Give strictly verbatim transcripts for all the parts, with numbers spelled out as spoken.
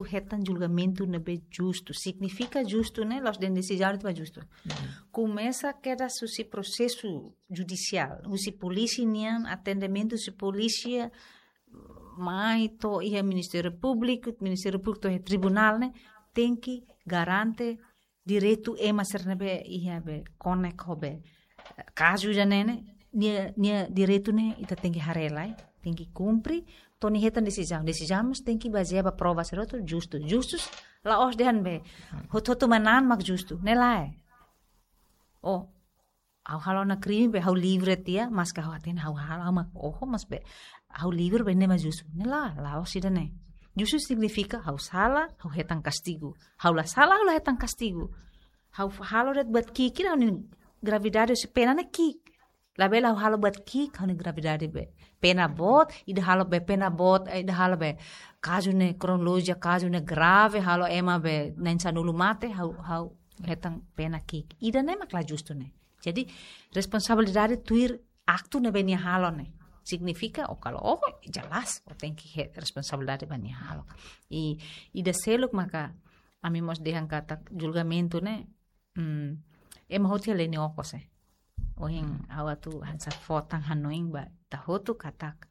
hetan julgamentu ne'ebé justu. Signifika justu ne'e, la'ós dehan desizaun ne'e justu. Komesa kedas husi prosesu judisiál, husi polísia nian, atendimentu husi polísia, mai to'o iha Ministériu Públiku, Ministériu Públiku to'o iha tribunál ne'e, tenke garante direitu ema sira ne'ebé iha be konek ho be kazu ida-ne'e ne'e, nia, nia direitu ne'e ita tenke haree lai, tenke kumpre, to'o nia hetan desizaun. Desizaun mós tenke bazeia ba prova sira hotu justu. Justu la'ós dehan be hotu-hotu manán mak justu. Ne'e lae. Oh, ha'u halo ona krime be ha'u livre tiha, maske ha'u hatene ha'u halo, ha'u mak oho, mas be ha'u livre be ne'e mak justu. Ne'e lae, la'ós ida-ne'e. Justu signifika ha'u sala, ha'u hetan kastigu. Ha'u la sala, ha'u la hetan kastigu. Ha'u halo de'it buat ki'ik, ha'u-nia gravidade husi pena ne'e ki'ik. Labele ha'u halo buat ki'ik, ha'u-nia gravidade be pena boot, ida halo be pena boot, eh, ida halo be kazu ne'e kronolojia, kazu ne'e grave, halo ema be na'in-sanulu mate, ha'u, ha'u hetan pena ki'ik. Ida-ne'e mak la justu ne'e. Jadi, responsabilidade tuir aktu ne'ebé nia halo ne'e. Signifika, oh, kalau, oh, jelas, oh, tenke hetan responsabilidade ba nia halo. I, ida seluk maka, ami mós dehan katak julgamentu ne'e, hmm, ema hotu iha lei nia okos, eh. Ohin ha'u atu hanesan fó tan hanoin ba ita hotu katak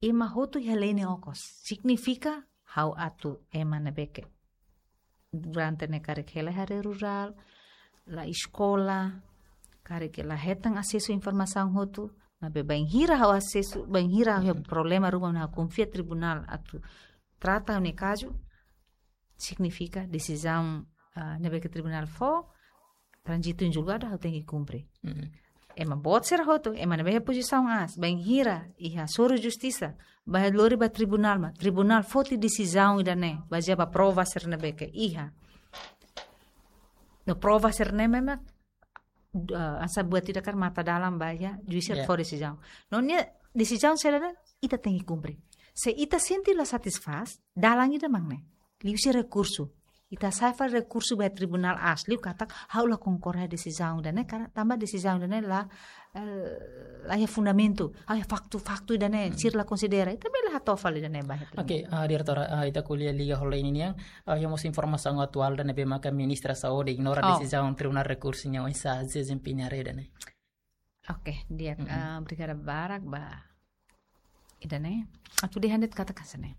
ema hotu iha lei nia okos. Signifika ha'u atu ema ne'ebé ke durante ne'e karik hela iha área rurál, la eskola, karik la hetan asesu informasaun hotu, maibé bainhira ha'u asesu, bainhira ha'u iha problema ruma ne'e ha'u konfia tribunál atu trata ha'u-nia kazu, signifika desizaun, ah, ne'ebé ke tribunál fó, tranzitu em julgado, ha'u tenke kumpre. Ema boot sira hotu, ema ne'ebé iha pozisaun aas, bainhira iha hasoru justisa, bá lori ba tribunál mak, tribunál foti desizaun ida-ne'e, bazeia ba prova sira ne'ebé ke iha. No prova sira-ne'e memang, ah, hanesan buat ida karik mata dalan ba iha, juís sira fó desizaun. No nia desizaun sira-ne'e, ita tenke kumpre. Se ita sente la satisfás, dalan ida mak ne'e. Liuhusi rekursu. Ita hasa'e fali rekursu ba tribunál aas liu katak ha'u la konkorda desizaun ida-ne'e, karena tanba desizaun ida-ne'e la, eh, la iha fundamentu, ha'u iha faktu, faktu ida-ne'e, sira la konsidera. Ita bele hato'o fali ida-ne'e ba iha tribunál. Oke, ah, diretora, ah, ita ko'alia liga ho lei ninian, ah, iha mós informasaun atuál ida ne'ebé maka Ministra Saúde ignora desizaun Tribunál Rekursu nian oinsá, desempeña ida-ne'e. Oke, di'ak, ah, obrigada barak ba ida-ne'e. Atu dehan de'it katak hanesan ne'e.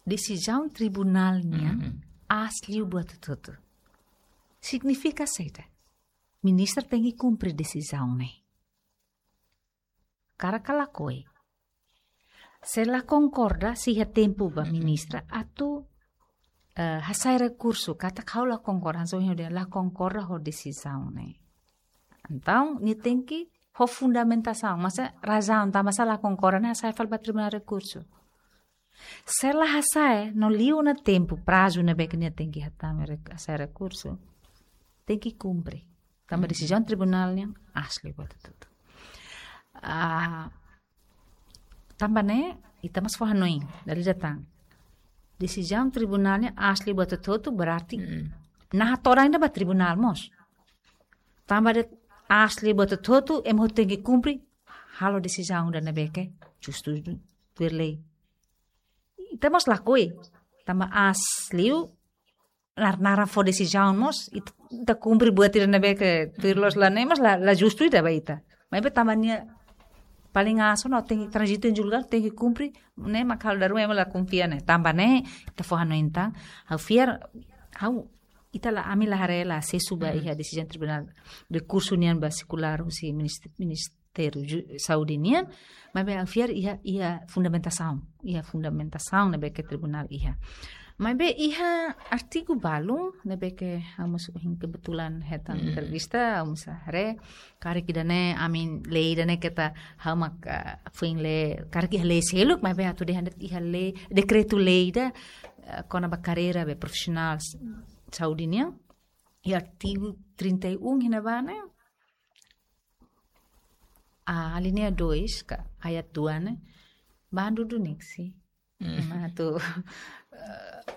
Desizaun tribunál nian aas liu buat hotu-hotu. Signifika saida? Ministra tenke kumpre desizaun ne'e. Karik ka lakohi. Se la konkorda, sei iha tempu ba ministra atu, eh, hasa'e rekursu, katak ha'u la konkorda, hanesan ohin dehan la konkorda ho desizaun ne'e. Entaun, nia tenke ho fundamentasaun, maibé razaun, tanba sá la konkorda, nia hasa'e fali ba tribunál rekursu. Se la hasa'e, no liu ona tempu, prazu ne'ebé ke nia tenke hatama re-, hasa'e rekursu, tenke kumpre. Tanba desizaun tribunál nian aas liu buat hotu-hotu. Ah, tanba ne'e, ita mós fó hanoin, dala ida tan. Desizaun tribunál nian aas liu buat hotu-hotu, berarti naha todan ida ba tribunál mós. Tanba de'it aas liu buat hotu-hotu, ema hotu tenke kumpre, halo desizaun ida ne'ebé ke justu tuir lei. Ita mós lakohi, tanba aas liu, nar-, naran fó desizaun mós, it-, ita kumpre buat ida ne'ebé ke tuir loos la ne'e, mas la, la justu ida ba ita. Maibé tanba nia paling aas ona, tenke tranzitu em julgado, tenke kumpre, ne'e mak halo dala ruma ema la konfia ne'e. Tanba ne'e, ita fó hanoin tan, ha'u fiar, ha'u, ita la, ami la haree la asesu ba iha desizaun tribunál rekursu nian ba sirkulár husi minist-, minist-, Ministériu Ju-, Saúde nian, maibé ha'u fiar iha, iha fundamentasaun, iha fundamentasaun ne'ebé ke tribunál iha. Maibé iha artigu balu, ne'ebé ke ha'u mós ohin kebetulan hetan entrevista, ha'u mós haree, karik ida-ne'e, ami lei ida-ne'e keta ha'u mak, ah, foin lee, karik iha lei seluk, maibé atu dehan de'it iha lei, dekretu lei ida, ah, kona-ba karreira be profisionál s-, saúde nian, iha artigu trinta e um iha ne'ebá ne'e, ah, alínea dois, ka ayat dua ne'e, bandu duni si. Ema atu, eh,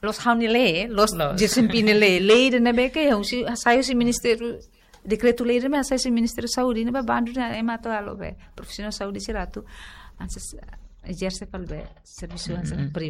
loos ha'u-nia lei, loos desempeña lei, lei ida ne'ebé ke, husi, hasai husi Ministériu, dekretu lei ida ne'ebé hasai husi Ministériu Saúde, ne'ebé bandu ne'e ema atu halo be profisionál saúde sira atu, hanesan, ezerse fali be servisu hanesan